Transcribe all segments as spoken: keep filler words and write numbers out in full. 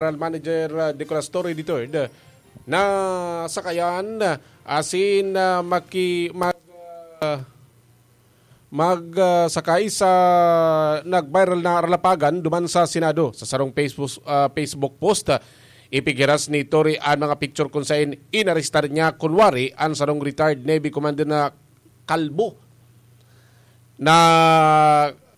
General Manager, ah, Nicolas Torre the third, na sakayan, ah, asin, ah, maki-, mag-, ah, mag, ah, sakay sa nag-viral na ralapagan duman sa Senado. Sa sarong Facebook, ah, Facebook post, ah, ipighiras ni Torre an mga picture kun saen inarestar niya kunwari an sarong retired Navy commander na kalbo. Na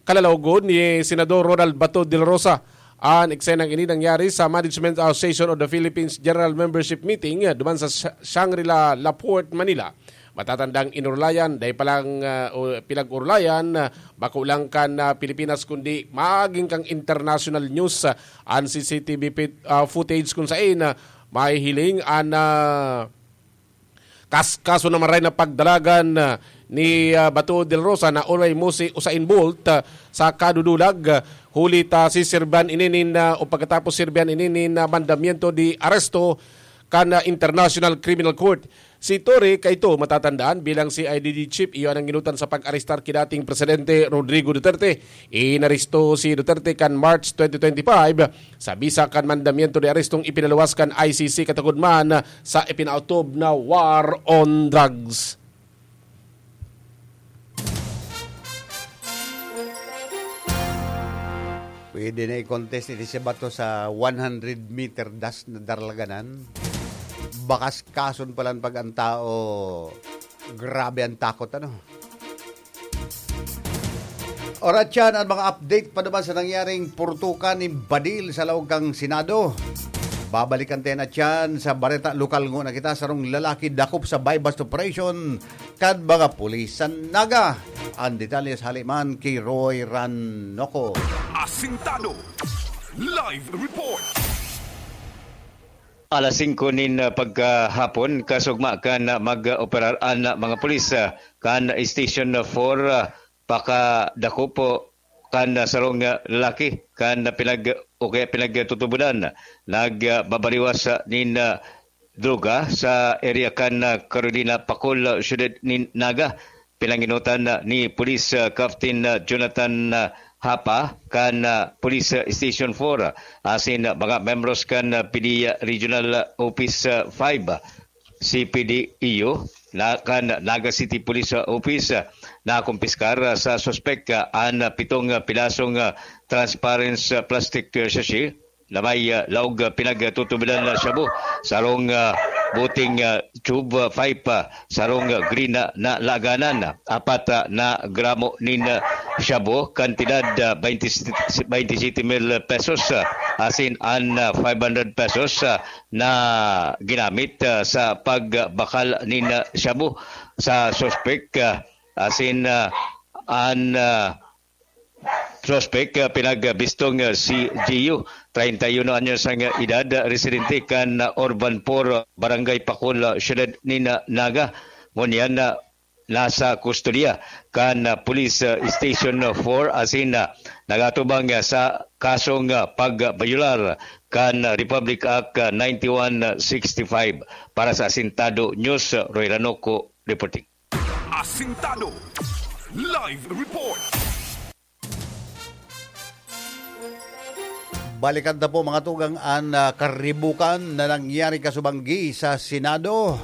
kalalawagon ni Senador Ronald Bato de la Rosa. An eksenang ini nangyari sa Management Association of the Philippines General Membership Meeting, ah, duman sa Sh-, Shangri-La, Laporte, Manila. Matatandang inurulayan, dai pa lang, ah, o pinag-urulayan, ah, bako lang kan, ah, Pilipinas, kundi magin kan international news, ah, an C C T V pit-, ah, footage kun saen, ah, mahihiling an, ah, kas-, kaso na maray na pagdalagan, ah, ni, ah, Bato de la Rosa na uray mo si Usain Bolt, ah, sa kadudulag, ah, huli ta si Serbian ininin, ah, o pagkatapos Serbian ininin na mandamiento de aresto kan, ah, International Criminal Court. Si Torre, kaito matatandaan bilang C I D G chief, iyo an nangginutan sa pag-arestar ki dating Presidente Rodrigo Duterte. Inaresto si Duterte kan March twenty twenty-five sa bisa kan mandamiento de arestong ipinaluwas kan I C C katagod man sa ipinaotob na war on drugs. Pwede na i-contest ini si Bato sa one hundred meter dash na darlaganan. Bakas kason palan pag ang tao, grabe ang takot, ano? Orat yan ang mga update pa naman sa nangyaring purtukan ni Badil sa laog kang Senado. Babalikan tayo na tiyan sa bareta lokal ngona kita, sarong lalaki dakop sa buy-bust operation kan mga pulis sa Naga. Ang detalye sa haliman ki Roy Ranoco. Asintado. Live report. Alas singko nin, ah, pagkahapon, kasugma kan, ah, mag-operar an, ah, mga pulis, ah, kan Station four, ah, pakadakop po kan, ah, sarong, ah, lalaki kan, ah, pinag-, o kaya pinagtutubodan. Nagbabariwas, ah, nin, ah, droga sa area kan, ah, Carolina, Pacol, ah, siyudad nin Naga. Pinanginutan, ah, ni Police, ah, Captain, ah, Jonathan, ah, Hapa kan, ah, Police, ah, Station four, ah, asin, ah, mga membros kan, ah, P D Regional, ah, Office, ah, five, ah, C P D E U, na kan Naga City Police, ah, Office, ah, nakumpiskar, ah, sa suspek, ah, an, ah, pitong, ah, pirasong, ah, transparent, ah, plastic, ah, sachet na may, ah, laog, ah, pinagtutubodan na shabu, sarong, ah, buting, ah, tube, ah, pipe, ah, sarong, ah, green na, na laganan, ah, apat, ah, na gramo nin, ah, shabu, kantidad, ah, twenty, twenty-seven mil pesos, ah, asin an, ah, five hundred pesos, ah, na ginamit, ah, sa pagbakal nin, ah, shabu sa suspek, ah, asin, ah, an, ah, suspek, ah, pinagbistong, ah, si Gio, treinta y uno anyos ang edad, ah, residente kan, ah, Urban four, ah, Barangay Pacol, ah, siyudad nin, ah, Naga. Ngunyan, ah, nasa kustodiya kan, ah, Police, ah, Station four asin, ah, nagatubang, ah, sa kasong, ah, pagbayolar kan, ah, Republic Act, ah, ninety-one sixty-five. Para sa Asintado News, ah, Roy Ranoco reporting. Asintado. Live report. Balikan ta po, mga tugang, an, ah, karibukan na nangyari kasubanggi sa Senado.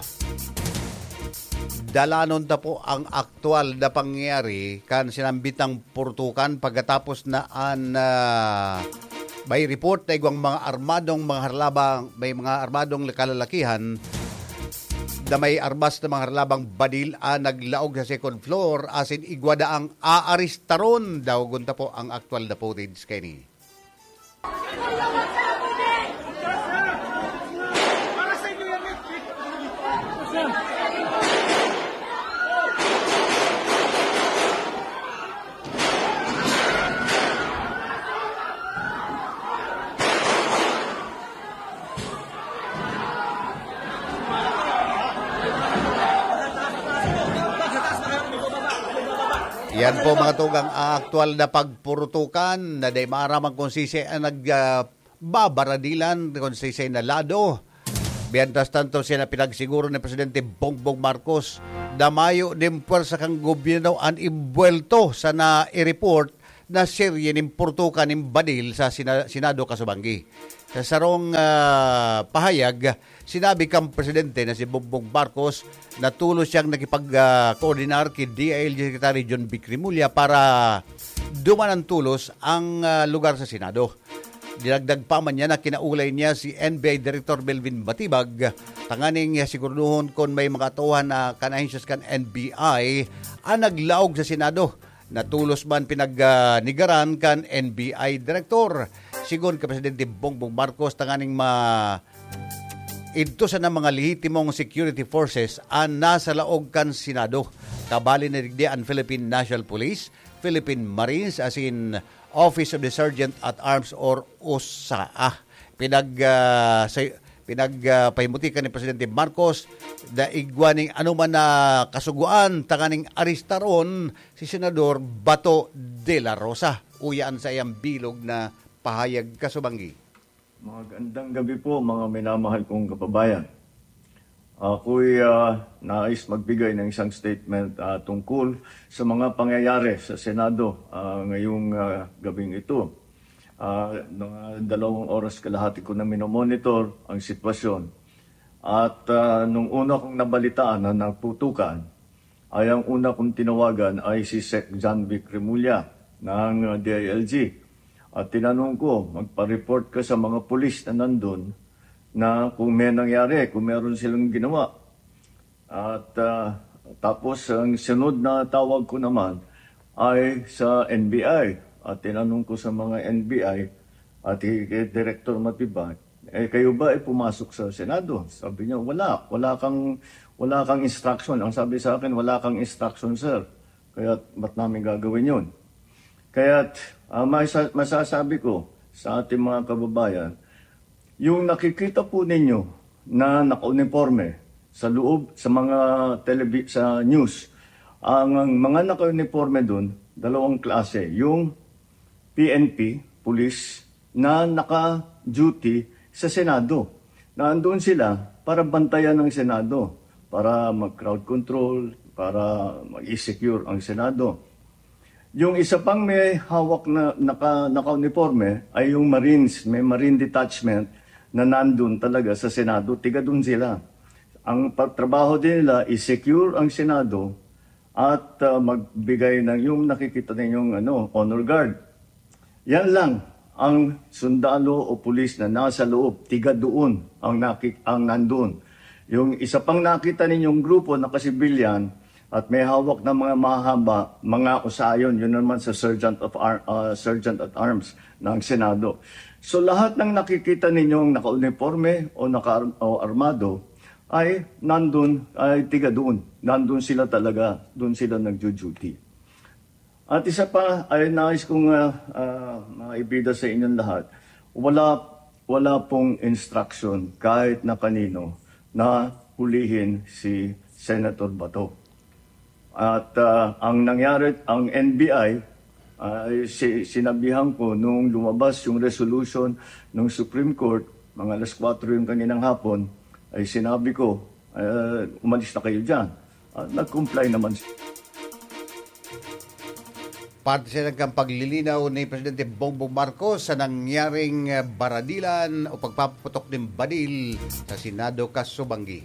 Dalanon ta po ang aktual na pangyayari kan sinambitang purtukan pagkatapos na an, ah, may report na igwang mga armadong mga harlabang, may mga armadong kalalakihan na may armas na mga harlabang badil an naglaog sa second floor asin igwa daang aaristaron. Dawagon ta po ang aktual na footage kaini. Yan po, mga tugang, ang aktual na pagpurutukan na di maaraman kung sisay ang nag, ah, babaradilan, kung sisay na lado. Mientras tanto, siya na pinagsiguro ni Presidente Bongbong Marcos na mayo nin pwersa kan gobyerno an imbuwelto sa nai-report na serye nin purtukan nin badil sa Sina-, Senado kasubanggi. Sa sarong, ah, pahayag, sinabi kan presidente na si Bongbong Marcos na tolos siyang nakipag, ah, koordinar ki D I L G Secretary John Vic Remulla para duman ang tolos ang, ah, lugar sa Senado. Dinagdag pa man niya na kinaulay niya si N B I Director Melvin Batibag tanganing siguraduhon kun may mga tauhan na kan ahensyas kan N B I ang naglaog sa Senado. Natolos man pinagnegaran kan N B I Director. Sigon kan Presidente Bongbong Marcos, tanganing ma-, idto sana mga lehitimong security forces an nasa laog kan Senado. Kabali na digdi an Philippine National Police, Philippine Marines, asin Office of the Sergeant at Arms or OSAA. Pinag, ah, say-, pinag, ah, pahimutikan ni Presidente Marcos na igwa ning anoman na kasugoan tanganing arestaron si Senador Bato de la Rosa. Uya an saiyang bilog na pahayag, kasubanggi. Magandang gabi po, mga minamahal kong kababayan. Ako'y, ah, nais magbigay ng isang statement, ah, tungkol sa mga pangyayari sa Senado, ah, ngayong, ah, gabing ito. Ah, mga dalawang oras kalahati ko na minomonitor ang sitwasyon. At, ah, nung una kong nabalitaan na nagputukan, ay ang una kong tinawagan ay si Sec John Vic Remulla ng, ah, D I L G. At tinanong ko, "Magpa-report ka sa mga pulis na nandun na kung may nangyari, kung meron silang ginawa." At, ah, tapos ang sunod na tawag ko naman ay sa N B I. At tinanong ko sa mga N B I at kay Director Matibag, "Eh, kayo ba ay pumasok sa Senado?" Sabi niya, "Wala. Wala kang, wala kang instruction." Ang sabi sa akin, "Wala kang instruction, sir. Kaya ba't namin gagawin yun?" Kaya, ah, masa-, masasabi ko sa ating mga kababayan, yung nakikita po ninyo na nakauniporme sa loob, sa mga telebi-, sa news, ang, ang mga nakauniporme dun, dalawang klase. Yung P N P, pulis, na naka-duty sa Senado. Na andun sila para bantayan ang Senado, para mag-crowd control, para mag-secure ang Senado. Yung isa pang may hawak na naka-, naka-uniporme ay yung Marines, may Marine Detachment na nandun talaga sa Senado, tiga dun sila. Ang pa-, trabaho din nila is secure ang Senado at, ah, magbigay ng yung nakikita ninyong, ano, honor guard. Yan lang ang sundalo o pulis na nasa loob, tiga doon ang naki-, ang nandoon. Yung isa pang nakita ninyong grupo na kasibilyan at may hawak na mga mahaba, mga usayon, yun naman sa Sergeant of Ar-, ah, Sergeant at Arms ng Senado. So lahat ng nakikita ninyong nakauniporme o naka-, o armado ay nandun, ay tiga doon. Nandun sila talaga, doon sila nagjo-duty. At isa pa ay nais kong, ah, ah, maibida sa inyong lahat, wala, wala pong instruction kahit na kanino na hulihin si Senator Bato. At, ah, ang nangyari, ang N B I, ay si-, sinabihan ko nung lumabas yung resolution ng Supreme Court, mga alas kwatro yung kaninang hapon, ay sinabi ko, "Ah, umalis na kayo dyan." Ah, nag-comply naman. Parte siya kan paglilinaw ni Presidente Bongbong Marcos sa nangyaring, eh, baradilan o pagpapaputok nin badil sa Senado, kasubanggi.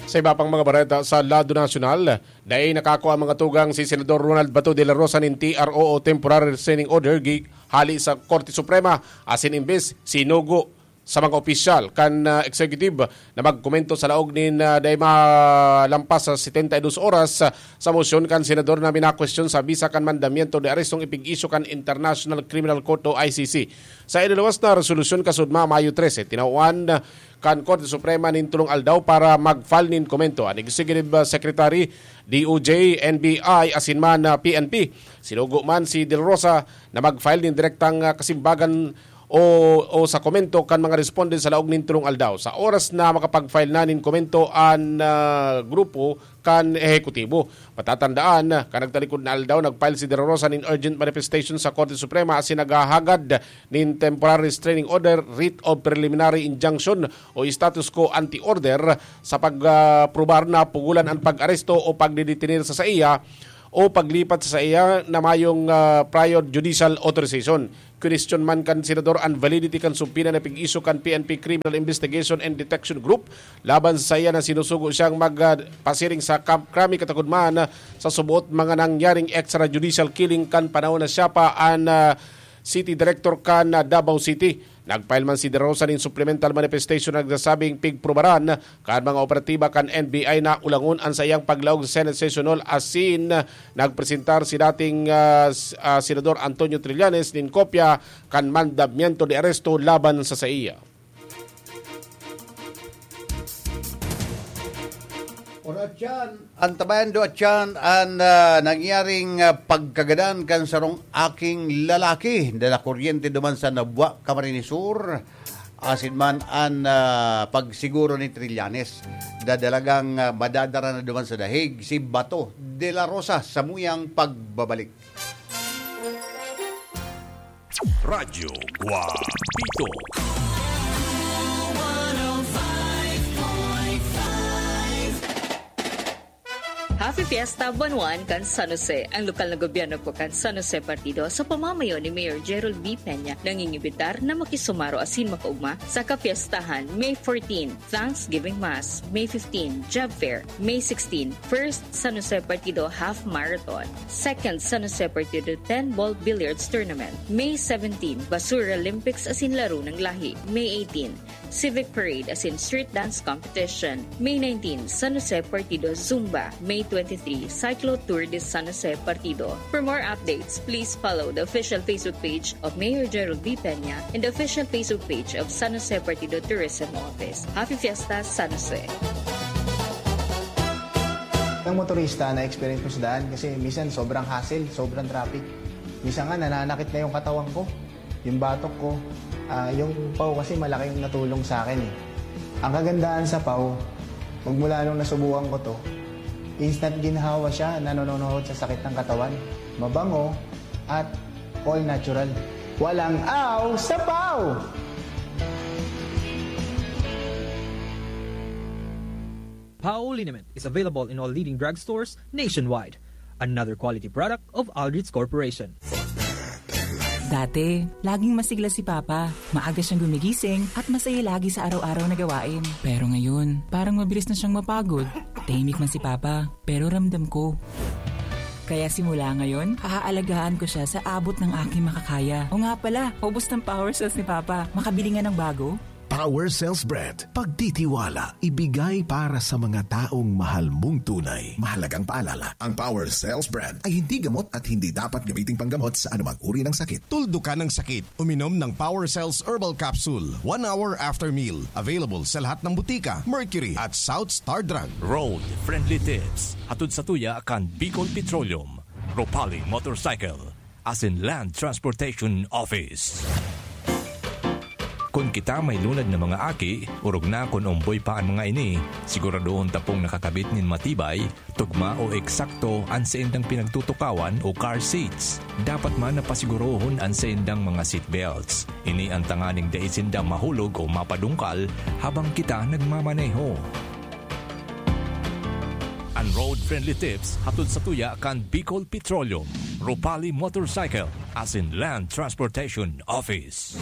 Sa iba pang mga bareta sa lado nasyonal, dai nakakua ang mga tugang si Senador Ronald Bato de la Rosa nin T R O o Temporary Restraining Order gi-, hali sa Korte Suprema, asin imbes sinugo sa mga opisyal kan, ah, executive na magkomento sa laog nin, ah, dai malampas sa setenta y dos oras, ah, sa mosyon kan senador na minakwestiyon sa bisa kan mandamiento de arestong ipig-isyu kan International Criminal Court o I C C. Sa iniluwas na resolusyon kasudma, Mayo trese, tinawan kan Korte Suprema nin tolong aldaw para mag-file nin komento an Executive, ah, Secretary, D O J, N B I, asin man, ah, P N P. Sinugo man si De La Rosa na mag-file nin direktang, ah, kasimbagan o, o sa komento kan mga respondent sa laog nin tolong aldaw. Sa oras na makapag-file na nin komento an, ah, grupo kan ehekutibo. Matatandaan, kan nagtalikod na aldaw, nag-file si De La Rosa nin urgent manifestation sa Korte Suprema asin naghahagad nin temporary restraining order, writ of preliminary injunction o status quo ante order sa pag, ah, probar na pugolan an pag-aresto o pagdedetener sa saiya o paglipat sa saiya na mayong, ah, prior judicial authorization. Question man kan senador an validity kan subpoena na pig-issue kan P N P Criminal Investigation and Detection Group laban sa saiya na sinusugo siyang mag, ah, pasiring sa Camp Crame, katakod man, ah, sa suboot mga nangyaring extrajudicial killing kan panahon na siya pa an, ah, city director kan, ah, Davao City. Nag-file man si De La Rosa nin supplemental manifestation na nagsasabing pigprubaran kan mga operatiba kan N B I na ulangon an saiyang paglaog sa Senate Session Hall asin nagpresentar si dating, ah, s-, ah, Senador Antonio Trillanes nin kopya kan mandamiento de aresto laban sa saiya. Oratyan, antabayan do atyan an, ah, nangyaring, ah, pagkagadan kan sarong aking lalaki na nakuryente duman sa Nabua, Camarines Sur. Asin man an, ah, pagsiguro ni Trillanes na dalagang, ah, madadara na duman sa dahig si Bato de la Rosa sa muyang pagbabalik. Radyo Guapito. Happy Fiesta, Buwan One kan San Jose. Ang lokal na gobyerno po kan San Jose Partido sa pamamayo ni Mayor Gerald B. Peña, nangingibitar na makisumaro asin makaugma sa kapiestahan May fourteen, Thanksgiving Mass, May fifteen, Job Fair, May sixteen, First San Jose Partido Half Marathon, Second San Jose Partido ten Ball Billiards Tournament, May seventeen, Basura Olympics asin Laro ng Lahi, May eighteen, Civic Parade asin Street Dance Competition, May nineteen, San Jose Partido Zumba, May twenty-three, Cyclo Tour de San Jose Partido. For more updates, please follow the official Facebook page of Mayor Gerald B. Peña and the official Facebook page of San Jose Partido Tourism Office. Happy Fiesta, San Jose! Ang motorista, na-experience ko sa daan kasi minsan sobrang hassle, sobrang traffic. Minsan nga, nananakit na yung katawan ko, yung batok ko. Ah, yung paw kasi malaking natulong sa akin eh. Ang kagandahan sa paw, magmula nung nasubukan ko to, instant ginhawa siya, nanononohod sa sakit ng katawan. Mabango at all natural. Walang aw sa paw! Pao liniment is available in all leading drugstores nationwide. Another quality product of Aldrich Corporation. Dati, laging masigla si Papa. Maaga siyang gumigising at masaya lagi sa araw-araw na gawain. Pero ngayon, parang mabilis na siyang mapagod. Tahimik man si Papa, pero ramdam ko. Kaya simula ngayon, aaalagaan ko siya sa abot ng aking makakaya. O nga pala, ubos ng power cells ni Papa. Makabili nga ng bago? Power Cells Brand. Pagtitiwala, ibigay para sa mga taong mahal mong tunay. Mahalagang paalala, ang Power Cells Brand ay hindi gamot at hindi dapat gamiting panggamot sa anumang uri ng sakit. Tuldukan ang sakit. Uminom ng Power Cells Herbal Capsule one hour after meal. Available sa lahat ng butika, Mercury at South Star Drug. Road Friendly Tips. Hatod sa tuya kan Bicol Petroleum, Ropali Motorcycle, asin Land Transportation Office. Kun kita may lunad na mga aki, orog na kun omboy pa an mga ini, siguradohon ta pong nakakabit nin matibay, tugma o eksakto an saindang pinagtutukawan o car seats. Dapat man na pasigurohon an saindang mga seat belts. Ini an tanganing dai sinda mahulog o mapadungkal habang kita nagmamaneho. An Road Friendly Tips hatod sa tuya kan Bicol Petroleum, Ropali Motorcycle, asin Land Transportation Office.